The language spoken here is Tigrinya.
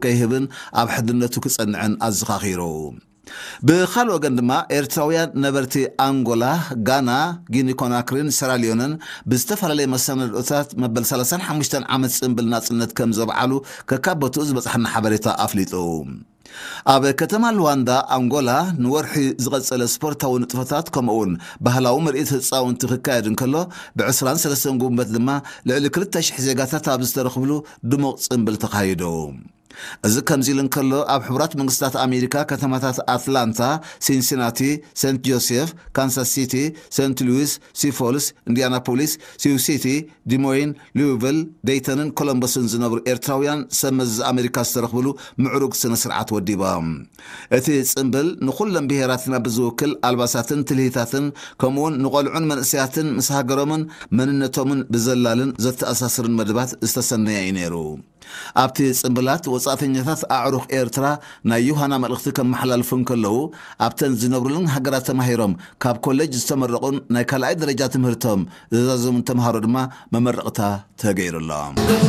ከይህብን ኣብ ሕድነቱ ክጸንዕን ኣዘኻኺሩ። ብኻልእ ወገን ድማ ኤርትራውያን ነበርቲ ኣንጎላ፣ ጋና፣ ጊኒ ኮናክሪን ሰራልዮንን ብዝተፈላለየ መሰናድኦታት መበል ሰላሳን ሓሙሽተን ዓመት ጽንብል ናጽነት ከም ዘብዓሉ ከካብ ቦትኡ ዝበጽሓና ሓበሬታ ኣፍሊጡ። ኣብ ከተማ ሉዋንዳ ኣንጎላ ንወርሒ ዝቐጸለ ስፖርታዊ ንጥፈታት ከምኡውን ባህላዊ ምርኢት ህጻውንቲ ክካየድ እንከሎ፣ ብ23 ጉንበት ድማ ልዕሊ ክልተ ሽሕ ዜጋታት ኣብ ዝተረኽብሉ ድሙቕ ጽንብል ተኻይዱ። እዚ ከምዚ ኢሉ እንከሎ፣ ኣብ ሕቡራት መንግስታት ኣሜሪካ ከተማታት ኣትላንታ፣ ሲንሲናቲ፣ ሴንት ጆሴፍ፣ ካንሳስ ሲቲ፣ ሴንት ሉዊስ፣ ሲፎልስ፣ ኢንዲያናፖሊስ፣ ሲው ሲቲ፣ ዲሞይን፣ ሉዊቪል፣ ደይተንን ኮሎምበስን ዝነብሩ ኤርትራውያን ሰብ መዚ ኣሜሪካ ዝተረኽብሉ ምዕሩግ ስነ ስርዓት ወዲባ። እቲ ጽንብል ንኹሎም ብሄራትና ብዝውክል ኣልባሳትን ትልሂታትን ከምኡውን ንቖልዑን መንእሰያትን ምስ ሃገሮምን መንነቶምን ብዘላልን ዘተኣሳስርን መደባት ዝተሰነየ እዩ ነይሩ። ኣብቲ ጽንብላት ወጻእተኛታት ኣዕሩኽ ኤርትራ ናይ ዮሃና መልእኽቲ ከመሓላልፉ እንከለዉ፣ ኣብተን ዝነብሩለን ሃገራት ተማሂሮም ካብ ኮሌጅ ዝተመረቑን ናይ ካልኣይ ደረጃ ትምህርቶም ዝዛዘሙን ተምሃሮ ድማ መመረቕታ ተገይሩሎም።